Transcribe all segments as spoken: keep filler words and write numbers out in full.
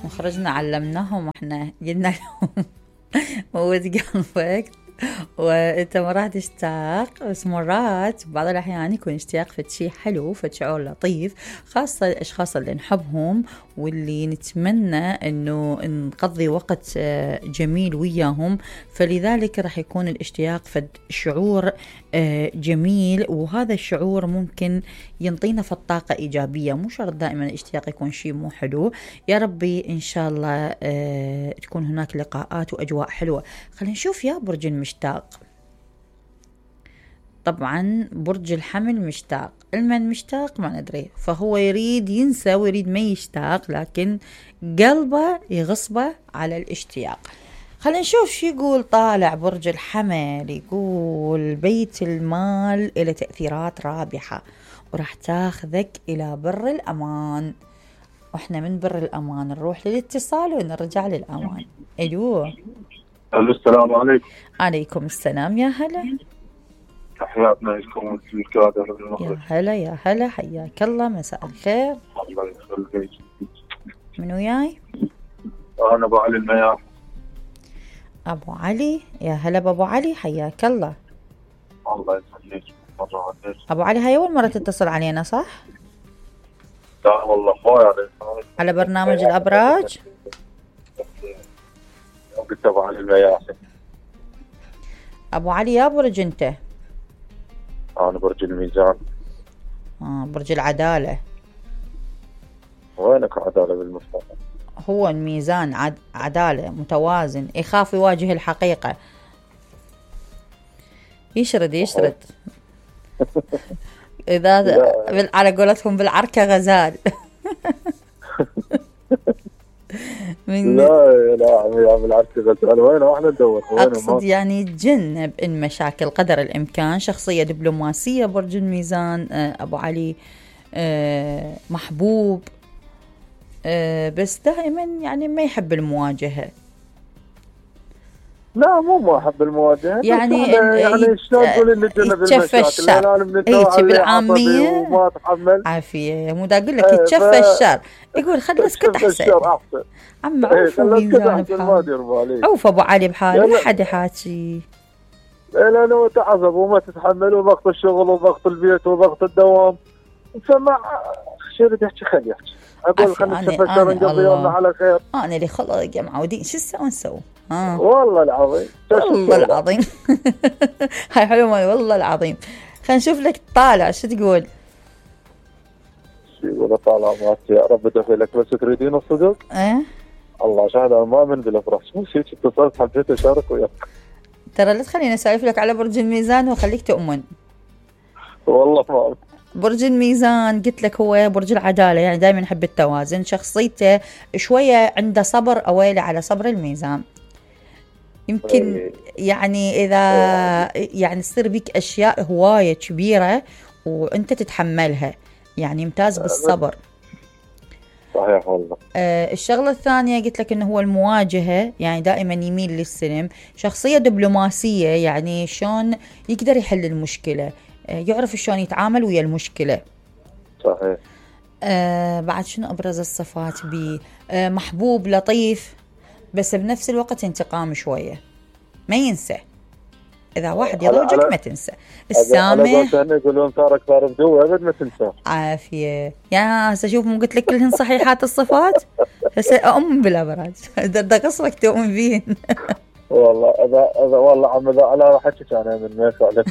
وخرجنا علمناهم واحنا قلنا لهم موت قلبك وانت ما راح تشتاق، بس مرات بعض الاحيان يكون اشتياق فد شيء حلو، فد شعور لطيف، خاصة الاشخاص اللي نحبهم واللي نتمنى انه نقضي وقت جميل وياهم، فلذلك راح يكون الاشتياق فد شعور جميل، وهذا الشعور ممكن ينطينا في الطاقة ايجابية. مو شرط دائما الاشتياق يكون شيء مو حلو. يا ربي ان شاء الله تكون هناك لقاءات واجواء حلوة. خلينا نشوف يا برج المشتاق. طبعا برج الحمل مشتاق، المن مشتاق ما ندري، فهو يريد ينسى ويريد ما يشتاق، لكن قلبه يغصبه على الاشتياق. خلينا نشوف شو يقول طالع برج الحمل. يقول بيت المال إلى تأثيرات رابحة وراح تاخذك إلى بر الأمان. واحنا من بر الأمان نروح للاتصال ونرجع للأمان. ألو الو السلام عليكم. عليكم السلام. يا هلا، تحياتنا لكم في الكادر المغرب. يا هلا يا هلا، حياك الله، مساء الخير. الله يخليك. من وياي؟ انا ابو علي المياح. ابو علي، يا هلا بابو علي، حياك الله. الله يخليك. مرة عليك ابو علي، هاي اول مرة تتصل علينا صح؟ لا والله خويا عليك. على برنامج الابراج؟ قلت ابو علي المياح. ابو علي يا برج انت؟ انا برج الميزان. اه برج العدالة. وينك عدالة بالمفتاح؟ هو الميزان عد... عدالة، متوازن، يخاف يواجه الحقيقة، يشرد يشرد إذا بال... على قولتهم بالعركة غزال. من لا لا عمي عم بالعركة غزال. وين احنا ندور؟ أقصد يعني تجنب إن مشاكل قدر الإمكان. شخصية دبلوماسية برج الميزان أبو علي، محبوب، بس دائما يعني ما يحب المواجهة. لا مو ما احب المواجهة، يعني يعني شلون تقول اللي تجنب المشاكل؟ هيك بالعامية وما اتحمل عافية. مو دا اقول لك يتشفى الشر، يقول خلنا اسكت احسن. عم عوف ميزان بحاله، عوف ابو علي بحاله، لا حد يحاكي. لانه تعذب وما تتحمل، وضغط الشغل وضغط البيت وضغط الدوام، فما شرد يحكي خلي يحكي. اقول خلينا نشوف الشر نقضي يومنا على خير. انا اللي خلق يا معودين، شو نسوي نسوي؟ آه. والله العظيم والله العظيم. هاي حلوة والله العظيم. خلينا نشوف لك طالع شو تقول. شو يقول طالع مات يا رب دخلك بس تريدين الصدق؟ ايه الله شاهد انا ما من بالافراح. شو شيء اتصلت حبيت اشارك وياك. ترى لا تخليني اسولف لك على برج الميزان وخليك تؤمن. والله ما برج الميزان قلت لك هو برج العدالة، يعني دائما يحب التوازن. شخصيته شوية عنده صبر، أويلة على صبر الميزان. يمكن يعني إذا يعني تصير بيك أشياء هواية كبيرة وأنت تتحملها، يعني يمتاز بالصبر. صحيح والله. آه الشغلة الثانية قلت لك إنه هو المواجهة، يعني دائما يميل للسلم. شخصية دبلوماسية، يعني شلون يقدر يحل المشكلة، يعرف شلون يتعامل ويا المشكلة. صحيح. آه بعد شنو أبرز الصفات بي؟ آه محبوب، لطيف، بس بنفس الوقت انتقام شوية، ما ينسى. إذا واحد يضوجك ما تنسى. السامح، يقولون صار صار بدو أبد ما تنسى. عافية. يا هسه شوف، مو قلت لك كلهن صحيحات الصفات؟ هسه أؤمن بالأبراج. ده قصرك تؤمن بيهن. والله اذا اذا والله عم اذا انا راح احكي انا من ما يفعل.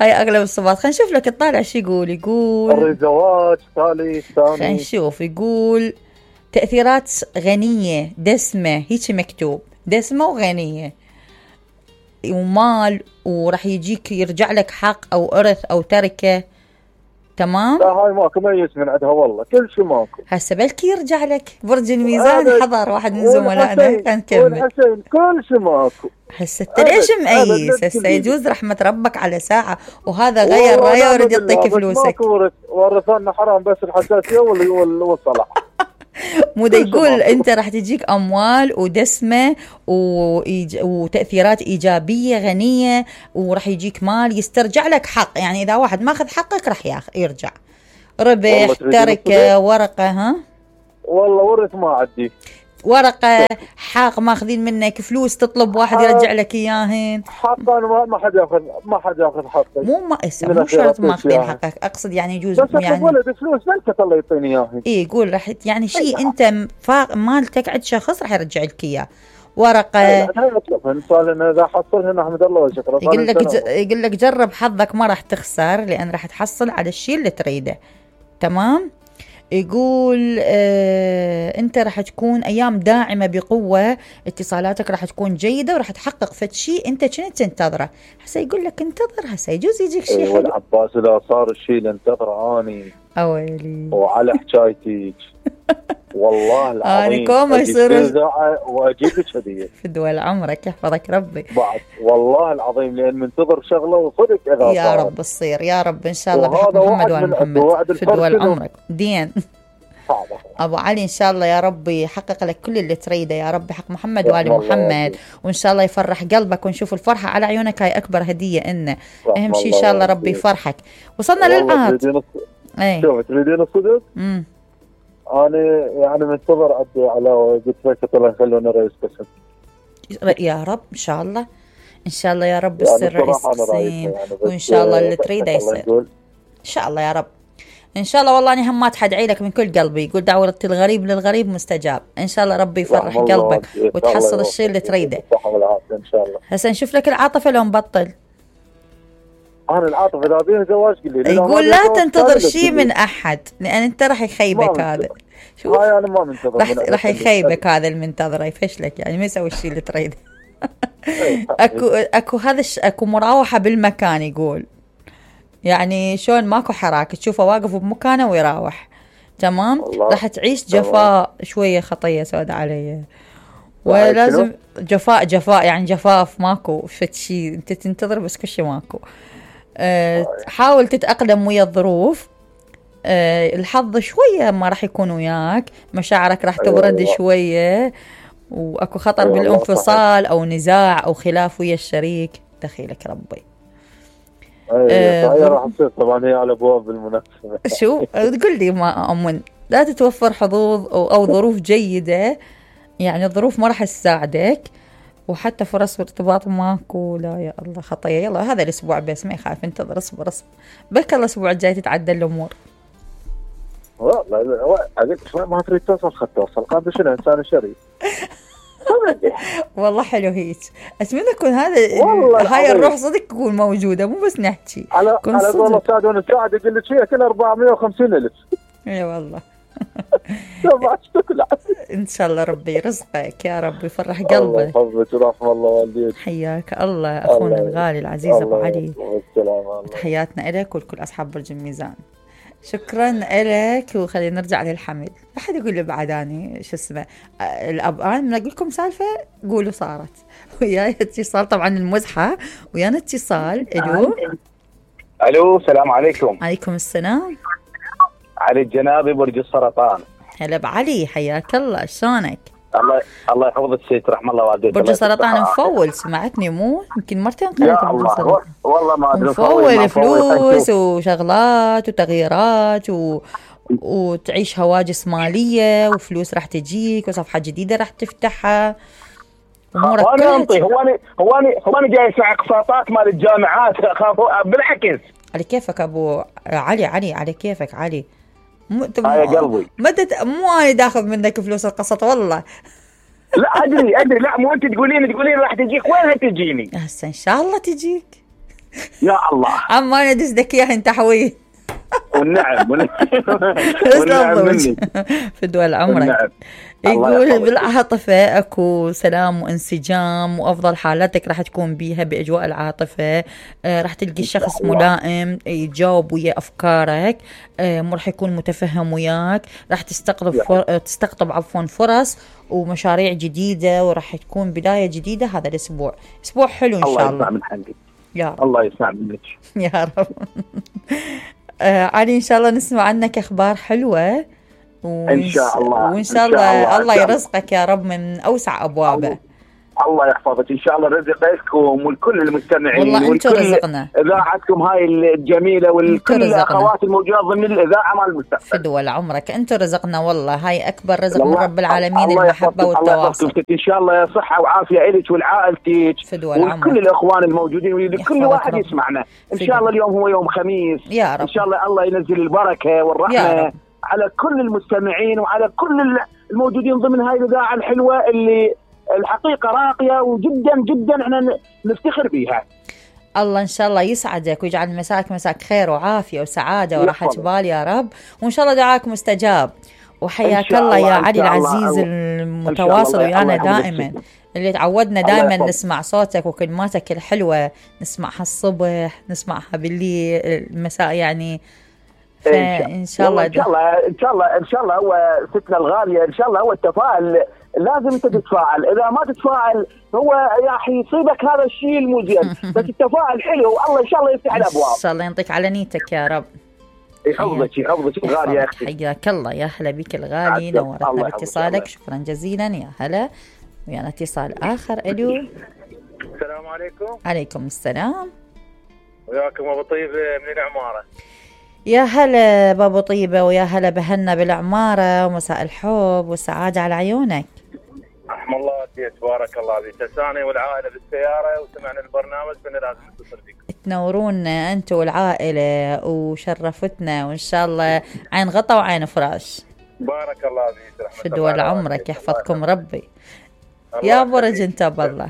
هاي اغلب الصفات. خلينا نشوف لك الطالع شو يقول. يقول الزواج ثالث ثاني. خلينا نشوف. يقول تأثيرات غنية دسمة، هيك مكتوب، دسمة وغنية ومال، وراح يجيك يرجع لك حق او ارث او تركة. تمام. لا هاي ماكو ميز من عندها والله، كل شيء ماكو. هسه بلكي يرجع لك برج الميزان. حضر واحد من زملائنا كان كمل. والحسين كل شيء ماكو. هسه انت ليش مقيس؟ هسه يجوز رحمة ربك على ساعة وهذا غير رايه ويريد يعطيك فلوسك. ورثنا حرام بس الحساسية والصلاح. مو دا يقول انت راح تجيك اموال ودسمه وإيج... وتاثيرات ايجابيه غنيه، وراح يجيك مال يسترجع لك حق. يعني اذا واحد ماخذ حقك راح ياخ... يرجع ربح، تركه، ورقه. ها والله ورث ما عندي. ورقة حق ماخذين منك فلوس تطلب واحد يرجع لك اياهن. حق انا ما حد ياخذ ما حد ياخذ حقي. مو ما مو شرط ماخذين حقك، اقصد يعني يجوز يعني ولد فلوس انت الله يعطيني اياهن. اي قول راح يعني شيء انت مالتك عند شخص راح يرجع لك اياه. ورقة اذا حصلهن احمد الله وشكرا. يقول لك ج... يقول لك جرب حظك ما راح تخسر لان راح تحصل على الشيء اللي تريده. تمام. يقول آه انت راح تكون ايام داعمه بقوه، اتصالاتك راح تكون جيده وراح تحقق فد شيء انت كنت تنتظره. هسه يقول لك انتظر، هسه يجوز يجيك شيء حلو. والله عباس اذا صار الشيء اللي انتظره اني اويلي وعلى حكايتك والله العظيم انا كوم يصير واجيب لك هديه في دول عمرك يحفظك ربي بعد والله العظيم لان منتظر شغله وصدق اذا يا صار. رب تصير يا رب ان شاء الله بحق محمد وال محمد في دول عمرك دين. ابو علي ان شاء الله يا رب يحقق لك كل اللي تريده يا رب حق محمد وال محمد، وان شاء الله يفرح قلبك ونشوف الفرحه على عيونك. هاي اكبر هديه إنه اهم شيء ان شاء الله ربي يفرحك. وصلنا للعهد. اي شوف تريدين الصدق؟ امم انا يعني منتظر ادي على قلت لك الله يخلونا رئيس قسم يا رب ان شاء الله ان شاء الله يا رب يصير يعني رئيس قسم يعني وان شاء الله اللي تريده يصير ان شاء الله يا رب ان شاء الله. والله انا هم ما ادعي لك من كل قلبي، يقول دعوة الغريب للغريب مستجاب. ان شاء الله ربي يفرح قلبك وتحصل الشيء اللي تريده ان شاء الله. هسه نشوف لك العاطفه لو مبطل. انا العاطفه اذا بيها زواج قل لي يقول لا تنتظر شيء من احد لان انت راح يخيبك هذا. شوف هاي انا ما منتظر راح راح يخيبك هذا المنتظره يفشلك يعني ما يسوي الشيء اللي تريده. اكو اكو هذا اكو مراوحه بالمكان يقول يعني شلون ماكو حراك تشوفه واقف بمكانه ويراوح. تمام. راح تعيش جفاء شويه خطيه سوداء علي ولازم جفاء جفاء يعني جفاف ماكو فد شيء انت تنتظر بس كل شيء ماكو. أه حاول تتأقلم ويا الظروف. أه الحظ شويه ما راح يكون وياك، مشاعرك راح تبرد شويه واكو خطر بالانفصال او نزاع او خلاف ويا الشريك. دخيلك ربي. ايه هي راح تصير طبعا هي على ابواب المنافسه. شو تقول لي ما امن لا تتوفر حظوظ أو, او ظروف جيده يعني الظروف ما راح تساعدك وحتى فرص ارتباط ماكو. لا يا الله خطيه. يلا هذا الاسبوع بس ما يخاف انتظر اصبر اصبر بك الله الاسبوع الجاي تتعدل الامور. والله ما تريد توصل خد توصل قام شنو انسان شريف. والله حلو هيك. اتمنى يكون هذا هاي الروح صدق تكون موجوده مو بس نحكي. على على والله سعد وانا سعد يقول لك فيها كل أربعمية وخمسين ألف. اي والله. ان شاء الله ربي يرزقك يا رب يفرح قلبك. الله يحفظك ورحم الله والديك. حياك الله اخونا الغالي العزيز ابو علي. تحياتنا لك ولكل اصحاب برج الميزان. شكرا لك. وخلينا نرجع للحمل. احد يقول لي بعد اني شو اسمه الاب انا من اقول لكم سالفه قولوا صارت وياي اتصال طبعا المزحه ويانا اتصال. الو الو السلام عليكم. عليكم السلام. علي الجنابي برج السرطان. هلا بعلي حياك الله شلونك؟ الله الله يحفظك سيد رحم الله والديك. برج السرطان مفول سمعتني مو يمكن مرتين قريت برج السرطان. والله ما ادري مفول فلوس وشغلات وتغييرات و... وتعيش هواجس ماليه وفلوس راح تجيك وصفحه جديده راح تفتحها امورك كلها. هو انا هو انا هو انا جاي اسمع اقساطات مال الجامعات بالعكس. على كيفك ابو علي علي على كيفك علي. مو يا قلبي مدد مو انا داخذ منك فلوس القسط والله. لا ادري ادري لا مو انت تقولين تقولين راح تجيك وينها تجيني. هسه ان شاء الله تجيك يا الله. اما انا دز لك اياها انت حوي. والنعم والنعم مني في دول عمرك. يقول بالعاطفة اكو سلام وانسجام وافضل حالاتك راح تكون بيها باجواء العاطفة. آه راح تلقي شخص ملائم يجاوب ويا افكارك. آه مو راح يكون متفهم وياك. راح تستقطب فر... تستقطب عفوا فرص ومشاريع جديدة وراح تكون بداية جديدة هذا الاسبوع. اسبوع حلو ان شاء الله. الله يسمع من حقك يا رب. الله يسمع منك يا رب. آه علي ان شاء الله نسمع عنك اخبار حلوة وإن شاء الله وإن شاء الله الله يرزقك يا رب من أوسع أبوابه. الله يحفظك ان شاء الله، رزقكم ولكل المستمعين والله انتم رزقنا اذاعتكم هاي الجميله ولكل الاخوات الموجودات ضمن الاذاعه مال المستقبل. فدوى عمرك انتم رزقنا والله، هاي اكبر رزق من رب العالمين، المحبه والتواصل. ان شاء الله صحه وعافيه لك ولعائلتك ولكل الاخوان الموجودين ولكل واحد يسمعنا. ان شاء الله اليوم هو يوم خميس يا رب، ان شاء الله الله ينزل البركه والرحمه على كل المستمعين وعلى كل الموجودين ضمن هاي الاذاعه الحلوه اللي الحقيقة راقية وجدا جدا احنا نفتخر بها. الله ان شاء الله يسعدك ويجعل مساك مساك خير وعافية وسعادة وراحة بال يا رب، وان شاء الله دعاك مستجاب. وحياك الله يا علي العزيز المتواصل ويانا دائما، اللي تعودنا دائما نسمع صوتك وكلماتك الحلوة، نسمعها الصبح نسمعها بالليل المساء يعني. فان شاء الله ان شاء الله ان شاء الله ان شاء الله هو ستنا الغالية ان شاء الله هو التفاعل، لازم انت تتفاعل، اذا ما تتفاعل هو راح يصيبك هذا الشيء المو زين، بس التفاعل حلو والله ان شاء الله يفتح الابواب. ان شاء الله ينطيك على نيتك يا رب. يحفظك يحفظك الغالي يا اختي. حياك الله، يا هلا بك الغالي، نورتنا باتصالك، شكرا جزيلا يا هلا. ويانا اتصال اخر. الو السلام عليكم. عليكم السلام. وياكم ابو طيبه من العماره. يا هلا بابو طيبه، ويا هلا بهنا بالعماره، ومساء الحب والسعاده على عيونك. رحم الله والديك، بارك الله فيك. ثاني والعائله بالسياره وسمعنا البرنامج فانا لازم نتصل بك. تنورونا انتم والعائله وشرفتنا، وان شاء الله عين غطا وعين فراش. بارك الله فيك. رحمه الله فدوى عمرك، يحفظكم ربي. يا برج انت بالله،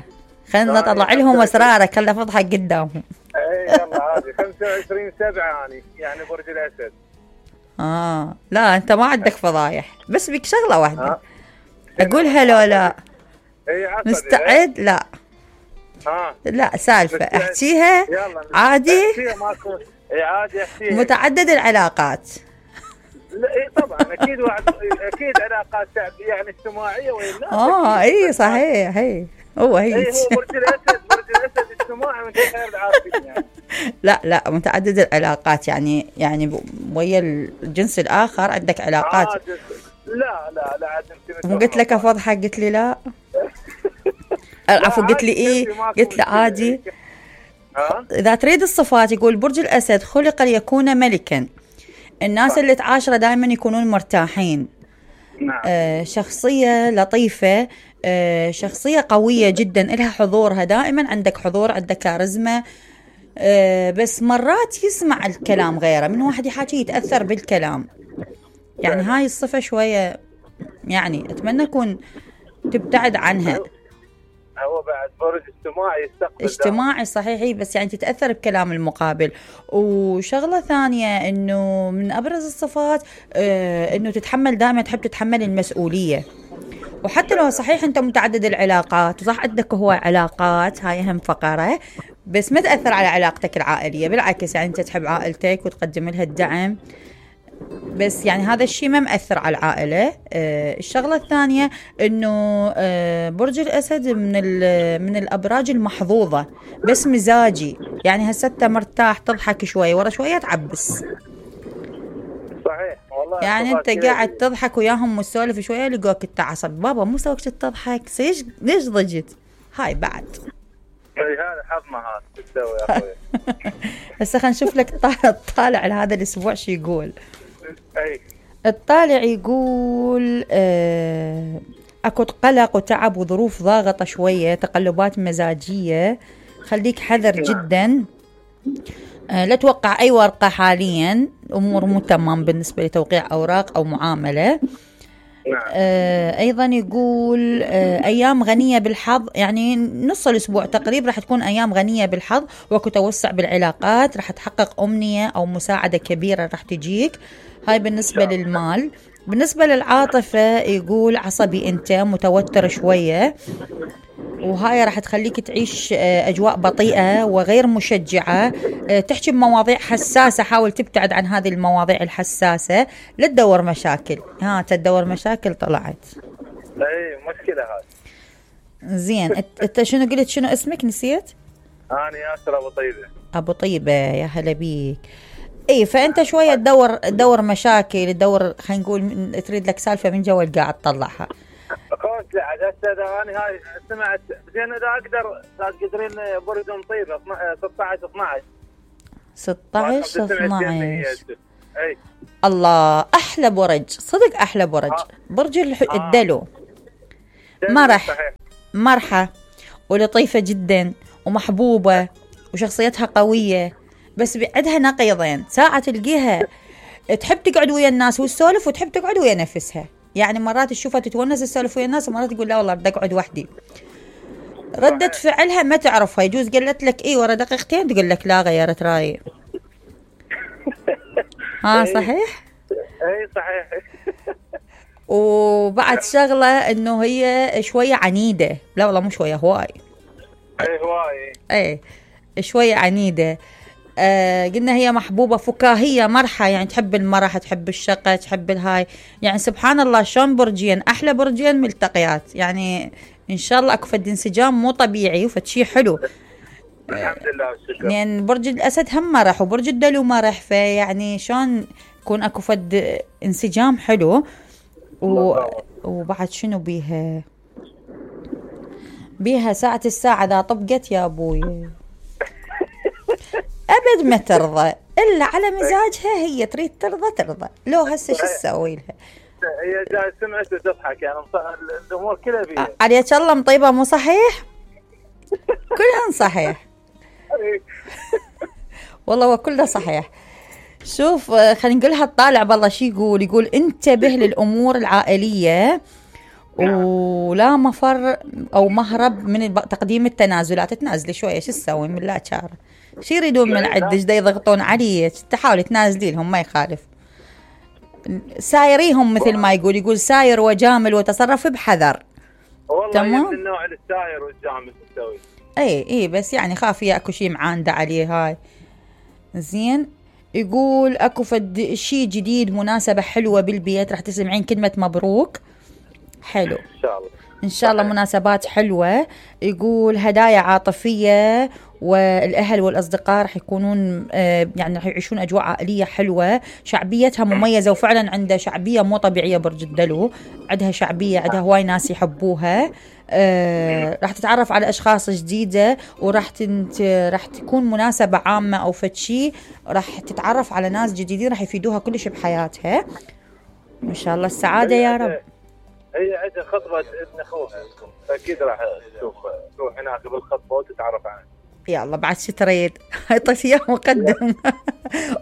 خلينا نطلع لهم اسرارك، خلنا فضحك قدامهم. اي يلا عادي. خمسة وعشرين سبعة يعني يعني برج الاسد. اه لا انت ما عندك فضايح، بس بك شغله واحده اقولها لو لا مستعد. لا ها لا سالفه احكيها عادي. عادي احكيها. متعدد العلاقات. لا اي طبعا اكيد اكيد علاقات يعني اجتماعيه ولا اه اي صحيح. هي هو هي اي هو برج الاسد برج الاسد اجتماعي وانت خير العارفين يعني. لا لا متعدد العلاقات يعني يعني ويا الجنس الاخر عندك علاقات. آه لا لا لا عاد انت قلت لك افضحك قلت لي لا. العفو قلت لي ايه؟ قلت لي عادي. اذا تريد الصفات يقول برج الاسد خلق ليكون ملكا، الناس اللي تعاشره دائما يكونون مرتاحين. نعم. آه شخصية لطيفة، آه شخصية قوية جدا، إلها حضورها دائما، عندك حضور، عندك كاريزما. آه بس مرات يسمع الكلام غيره، من واحد يحكي يتأثر بالكلام، يعني هاي الصفة شوية يعني أتمنى أكون تبتعد عنها. هو بعد برج اجتماعي يستقبل اجتماعي صحيح، بس يعني تتأثر بكلام المقابل. وشغلة ثانية انه من ابرز الصفات اه انه تتحمل دائما، تحب تتحمل المسؤولية. وحتى لو صحيح انت متعدد العلاقات وصح عندك هو علاقات، هاي اهم فقرة، بس ما تأثر على علاقتك العائلية، بالعكس يعني انت تحب عائلتك وتقدم لها الدعم، بس يعني هذا الشيء ما مأثر على العائلة. آه الشغلة الثانية انه آه برج الاسد من من الابراج المحظوظة، بس مزاجي يعني هسه مرتاح تضحك شوي ورا شوية تعبس. صحيح والله. يعني انت قاعد تضحك وياهم وتسولف شوية يلقوك التعصب، بابا مو سويت تضحك، ليش ليش ضجت؟ هاي بعد اي هذا حظنا هذا تسوي يا اخوي. هسه خلينا نشوف لك الطالع لهذا الاسبوع شو يقول. أي. الطالع يقول آه اكو قلق وتعب وظروف ضاغطة شوية، تقلبات مزاجية، خليك حذر جدا. آه لا توقع اي ورقة حاليا، امور مو تمام بالنسبة لتوقيع اوراق او معاملة. آه ايضا يقول آه ايام غنية بالحظ، يعني نص الاسبوع تقريبا راح تكون ايام غنية بالحظ، وكو توسع بالعلاقات، راح تحقق امنية او مساعدة كبيرة راح تجيك. هاي بالنسبة للمال. بالنسبة للعاطفة يقول عصبي انت، متوتر شوية، وهاي راح تخليك تعيش اجواء بطيئة وغير مشجعة، تحكي بمواضيع حساسة، حاول تبتعد عن هذه المواضيع الحساسة، لا تدور مشاكل. ها تدور مشاكل طلعت. اي مشكلة هذه. زين انت شنو قلت؟ شنو اسمك نسيت؟ انا ياسر ابو طيبة. ابو طيبة يا هلا بيك. اي فانت شويه تدور تدور مشاكل، تدور خلينا نقول تريد لك سالفه من جوا قاعد تطلعها. لا عاد هسه اذا انا هاي سمعت زين اذا اقدر تقدرين برج طيبه ستة عشر اثنا عشر ستة عشر اثنا عشر. اي الله احلى برج صدق احلى برج. آه. برج الدلو. آه. مرح مرحة ولطيفة جدا ومحبوبة وشخصيتها قوية، بس عندها نقيضين، ساعة تلقيها تحب تقعد ويا الناس وتسولف وتحب تقعد ويا نفسها، يعني مرات تشوفها تتونس تسولف ويا الناس ومرات تقول لا والله بدي اقعد وحدي. ردة فعلها ما تعرفها، يجوز قالت لك اي ورا دقيقتين تقول لك لا غيرت رايي. ها صحيح؟ اي صحيح. وبعد شغلة انه هي شوية عنيدة، لا والله مو شوية هواي. اي هواي. اي شوية عنيدة. آه قلنا هي محبوبة فكاهية مرحة، يعني تحب المرح تحب الشقة تحب الهاي، يعني سبحان الله شلون برجين احلى برجين ملتقيات، يعني ان شاء الله اكو فد انسجام مو طبيعي وفد شي حلو. الحمد لله والشكر. يعني برج الاسد هم مرح وبرج الدلو مرح، فيعني شلون يكون اكو فد انسجام حلو. و... وبعد شنو بيها بيها ساعة الساعة إذا طبقت يا أبوي أبد ما ترضى إلا على مزاجها، هي تريد ترضى ترضى، لو هسه شو تسوي لها؟ هي جاي سمعت وتضحك، يعني الأمور كلها بيها. عليك الله مطيبة مو صحيح؟ كلهن صحيح. والله هو كله صحيح. شوف خلينا نقولها الطالع بالله شي يقول يقول انتبه للأمور العائلية ولا مفر أو مهرب من تقديم التنازلات. تنازلي شوية شو تسوي من لا شارة، شو يريدون من عدش دا يضغطون عليك، تحاولي تنازلي لهم ما يخالف. سايريهم مثل ما يقول يقول ساير وجامل وتصرف بحذر. والله من النوع الساير والجامل تسوي. اي اي بس يعني خاف ياكو شي معاندة عليه هاي. زين يقول اكو فد شي جديد مناسبة حلوة بالبيت راح تسمعين كلمة مبروك. حلو ان شاء الله ان شاء الله مناسبات حلوة. يقول هدايا عاطفية والاهل والاصدقاء راح يكونون آه يعني راح يعيشون اجواء عائلية حلوة، شعبيتها مميزة وفعلا عندها شعبية مو طبيعية. برج الدلو عندها شعبية، عندها هواي ناس يحبوها. آه راح تتعرف على اشخاص جديدة وراح تنت راح تكون مناسبة عامة او فتشي، راح تتعرف على ناس جديدين راح يفيدوها كلش بحياتها. ان شاء الله السعادة يا رب. هي عندها خطبة ابن اخوها اكيد راح تشوف تروح هناك بالخطبة وتتعرف عنه. يا الله بعد شو تريد طيب يا مقدم.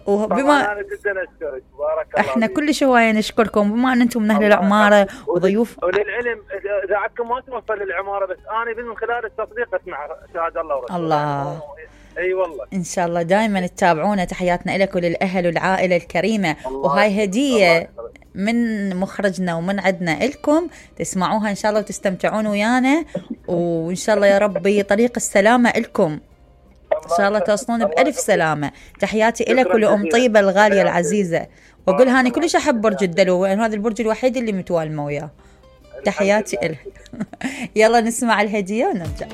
وبما انا جدا اشكرك بارك الله احنا كل شويه نشكركم بما ان انتم من اهل العماره وضيوف. وللعلم اذا عندكم ما توصل للعماره بس انا من خلال التصديق اسمع شهاده الله ورسوله. الله اي والله ان شاء الله دائما تتابعونا. تحياتنا لك وللاهل والعائله الكريمه، وهاي هديه من مخرجنا ومن عندنا لكم تسمعوها ان شاء الله وتستمتعون ويانا، وان شاء الله يا ربي طريق السلامه لكم ان شاء الله توصلون بألف سلامة. تحياتي لك ولأم طيبة الغالية العزيزة، واقول هاني كلش احب برج الدلو، وهذا البرج الوحيد اللي متوالمة وياه. تحياتي لك. يلا نسمع الهدية ونرجع.